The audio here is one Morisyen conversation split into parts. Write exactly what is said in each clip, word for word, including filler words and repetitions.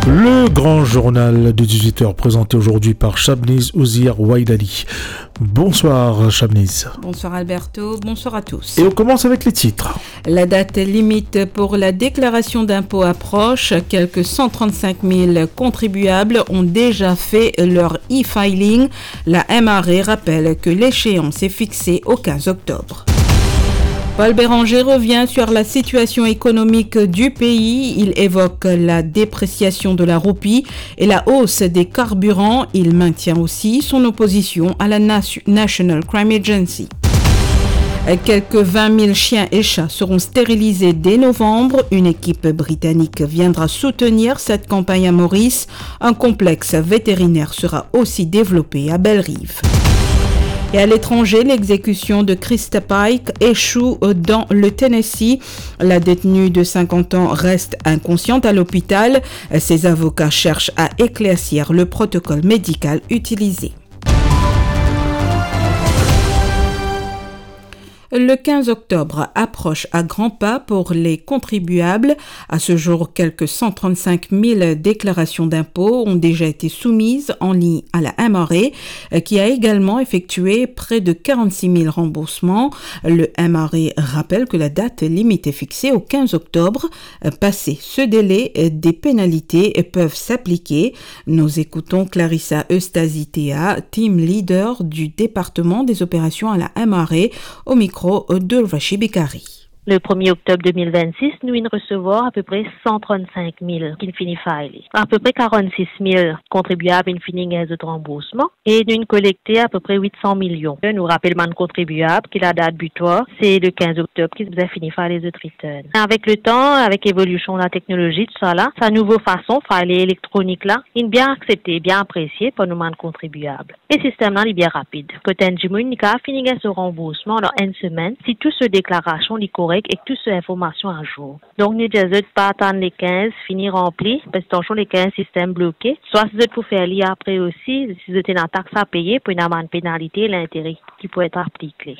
Le grand journal de dix-huit heures présenté aujourd'hui par Shabniz Ouzir Waidali. Bonsoir Shabniz. Bonsoir Alberto, bonsoir à tous. Et on commence avec les titres. La date limite pour la déclaration d'impôt approche. Quelques cent trente-cinq mille contribuables ont déjà fait leur e-filing. La M R A rappelle que l'échéance est fixée au quinze octobre. Paul Bérenger revient sur la situation économique du pays. Il évoque la dépréciation de la roupie et la hausse des carburants. Il maintient aussi son opposition à la Nation- National Crime Agency. Quelques vingt mille chiens et chats seront stérilisés dès novembre. Une équipe britannique viendra soutenir cette campagne à Maurice. Un complexe vétérinaire sera aussi développé à Bellerive. Et à l'étranger, l'exécution de Christa Pike échoue dans le Tennessee. La détenue de cinquante ans reste inconsciente à l'hôpital. Ses avocats cherchent à éclaircir le protocole médical utilisé. Le quinze octobre approche à grands pas pour les contribuables. À ce jour, quelques cent trente-cinq mille déclarations d'impôts ont déjà été soumises en ligne à la M R A, euh, qui a également effectué près de quarante-six mille remboursements. Le M R A rappelle que la date limite est fixée au quinze octobre. Euh, passé ce délai, euh, des pénalités, euh, peuvent s'appliquer. Nous écoutons Clarissa Eustazi-Théa, team leader du département des opérations à la M R A, au micro de Urvashi Bikari. Le premier octobre deux mille vingt-six, nou inn resevwar apepre cent trente-cinq mille ki'nn fini file. Apepre quarante-six mille kontribiab inn fini gagn zot ranboursman e nou inn kolekte apepre huit cents millions. Nou rapel bann kontribiab ki ladat bitwar, se le quinze octobre ki bizin fini file zot return. Avek letan, avek evolision lateknolozi, tousala, sa nouvo fason file elektronik la, inn bien aksepte, bien apresie par nou bann kontribiab. E sistem la, li bien rapid. Kot enn dimoun, li kapav fini gagn so ranboursman dan enn semenn, si tou so deklarasion, li korek ek tou so informasion azour. Donk, nou dir zot pa atann le quinze fini ranpli, parski atansion le quinze sistem bloke. Swa si zot pou fer li apre osi, si zot ena tax a peye, pou ena bann penalite, lintere ki pou et aplike.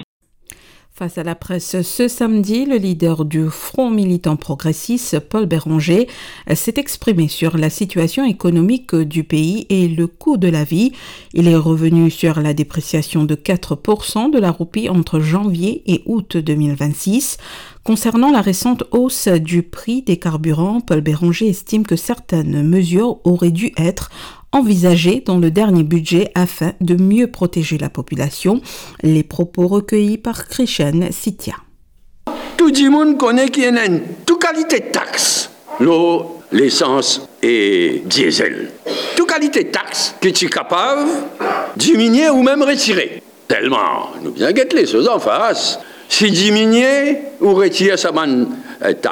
Face à la presse ce samedi, le leader du Front militant progressiste, Paul Bérenger, s'est exprimé sur la situation économique du pays et le coût de la vie. Il est revenu sur la dépréciation de quatre pour cent de la roupie entre janvier et août deux mille vingt-six. Concernant la récente hausse du prix des carburants, Paul Bérenger estime que certaines mesures auraient dû être envisagées dans le dernier budget afin de mieux protéger la population. Les propos recueillis par Krishen Sitia. Tou dimoun kone ki ena enn tou kalite tax lor lesans e diesel. Tou kalite tax ki ti kapav diminie ou mem retire. Selman, nou bizin get lesoz anfas. Si diminie ou retir sa bann, eh, tax,